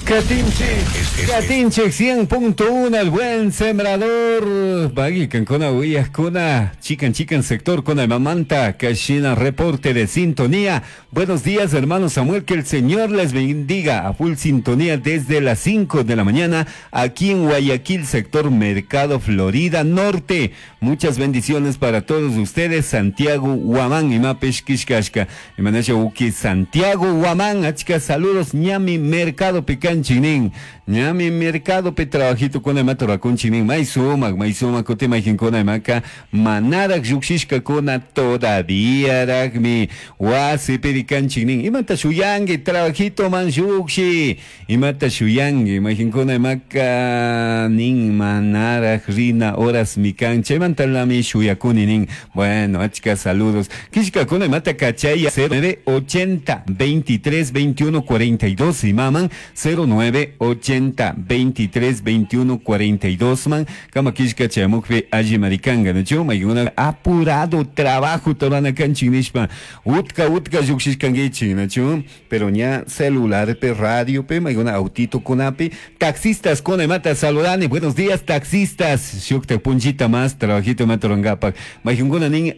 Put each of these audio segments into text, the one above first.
Katinchik, Katinchik 100.1 el buen sembrador. Bagui kankuna uyajkuna, chikan chikan sector kuna mamanta, Kashina reporte de sintonía. Buenos días, hermano Samuel, que el Señor les bendiga a full sintonía desde las 5 de la mañana aquí en Guayaquil, sector Mercado Florida Norte. Muchas bendiciones para todos ustedes, Santiago Huamán y Mapesh Kishkashka. Imanasha Uki Santiago Huamán, achka saludos, ñami Mercado Picanchinin, ñami Mercado pe trabajito con imata rakunchinin, may sumak, may sumak, kuti mayjinkuna imaka, manarak llukshishka kuna todavía rakmi, wasi pirikanchinin, imata shuyangi, trabajito man llukshi, imata shuyangi, mayjinkuna imaka nin manarak rina horas mikan, chaymantalami shuyakuni nin, bueno, achka saludos, kishkakuna imata kachaya 09 80 23 21 42 y maman 09 80 23 21 42 man kama kishka chayamukpi alli marikanga nachu maykuna apurado trabajo torana kanchin nishpa utka utka llukshishkankichik nachu pero ña celular pe radio pe maykuna autito kunapi taxistas kuna imata saludani buenos días taxistas shukta punchita más trabajito imata rurankapak maykunkuna nin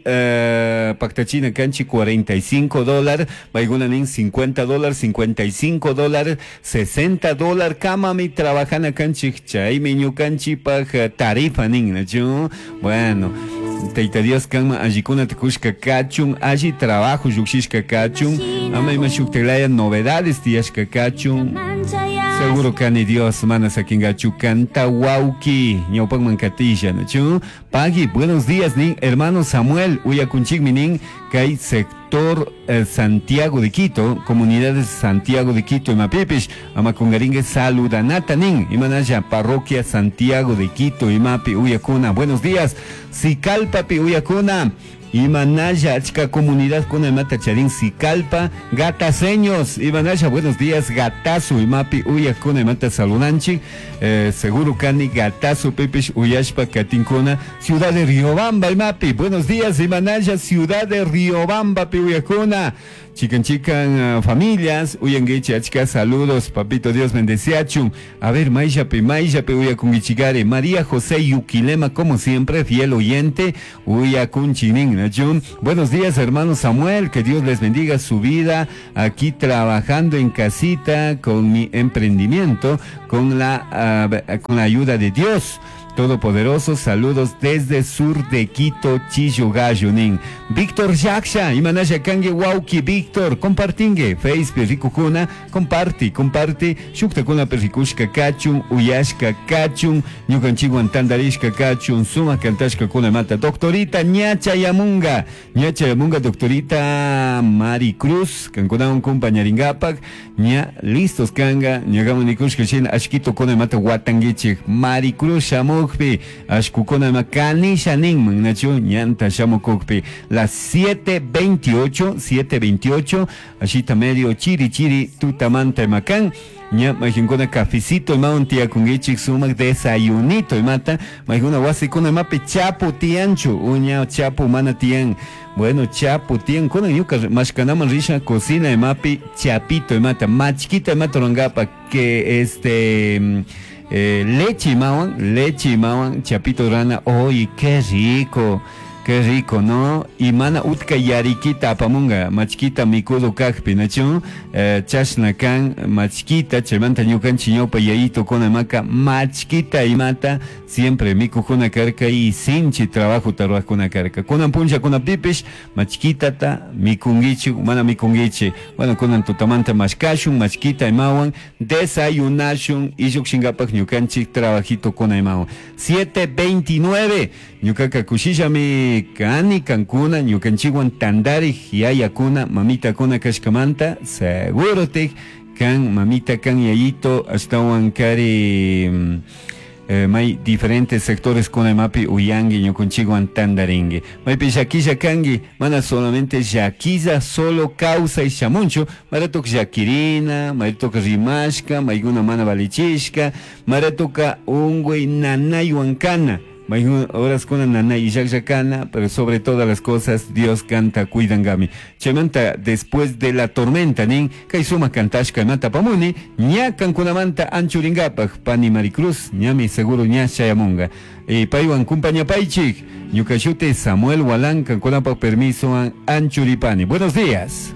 paktachina kanchik 45 dólar maykuna nin 50 dólar 55 dólar 60 dólar kamami trabajana kanchik chaymi ñukanchikpak tarifa nin nachu bueno Tayta Dios kanman allikunata kushka kachun alli trabajo llukshishka kachun ama ima shuktaklaya novedades tiyashka kachun seguro kani Dios mana sakingachu kanta wawki ñawpakman katisha nachu pagui buenos días nin hermano Samuel uyakunchikmi nin kay sector Santiago de Quito, comunidades Santiago de Quito imapipish ama kungaringue saludanata nin imanalla parroquia Santiago de Quito imapi uyakuna buenos días Sicalpapi uyakuna imanalla achka comunidad kuna imata charin Sicalpa gataseños imanalla buenos días gatazo imapi uyakuna imata saludanchik seguro kani gatazo pipish uyashpa katinkuna ciudad de Riobamba imapi buenos días imanalla ciudad de Riobamba pi uyakuna chikan chikan familias uyanguichi achka saludos papito Dios bendeciachun a ver mayllapi mayllapi uyakunguichigari María José Yuquilema como siempre fiel oyente uyakunchinin nachun buenos días hermano Samuel que Dios les bendiga su vida aquí trabajando en casita con mi emprendimiento con la ayuda de Dios Todopoderoso, saludos desde sur de Quito, Chillo Gallo, nin. Víctor Yaksha, imanasha kangue wauki, Víctor, compartingue, Facebook, rikukuna, comparti, comparti, shuktakuna perrikushka kachun, uyashka kachun, ñukanchikwan tandarishka kachun, sumak kantashka kuna mata, doctorita ñacha yamunga, ñacha yamunga, doctorita Mari Cruz, kankunawan compañaringapak, ña listos kanga, ñakaman nikushka shina, ashkito kuna mata watanguichik, Mari Cruz shamukpi, ashkukuna ma kanisha ninman, nachu, ñanta shamukukpi, las 7:28, 7:28, ashita medio chiri chiri tutamanta makan, ña majinkuna cafecito imawan tiyakunkichik sumak desayunito imata, majinkuna wasikuna imapi chapu tiyanchu, uña chapu mana tiyan, bueno chapu tiyan, kunan ñuka mashkanaman risha cocina imapi chapito imata, machkita imata rurankapak, que este leche imawan, chapito rana, oye, qué rico, qué rico, ¿no? Y mana utka yarikita apamunga, machkita mikudo kakpi, nachu? Chashna kan, machkita, chaymanta ñukanchik ñawpa yayito kuna maka, machkita imata, siempre mikukuna karka y sinchi trabajo tarwajkuna karka. Kunan punlla kuna pipish, machkitata mikungichi, mana mikungichi. Bueno, kunan tutamanta mashkashun, machkita imawan, desayunashun, y llukshingapak ñukanchik trabajito kuna imawan. 7:29, ñukaka kushillami kani kankuna ñukanchikwan tandarik yayakuna mamitakuna kashkamanta seguro tik kan mamita kan yayito ashtawan kari may diferentes sectores kuna imapi uyangi ñukanchikwan tandaringi maypi llakilla kangi mana solamente llakilla solo causa y shamunchu maratok llakirina maratok rimashka maykuna mana valichishka maratoka unguy nanaywan kana. Mayjun horaskuna nanay illajlla kana, pero sobre todas las cosas Dios kanta cuidangami. Chaymanta después de la tormenta nin, kay sumak kantashka imata apamuni, ña kankunamanta anchuringapaj, pani Maricruz, ñami seguro ña chayamunga. Y paywan kumpañapaychik, ñuka shuti Samuel Walan, kankunapaj permisowan anchuripani. Buenos días.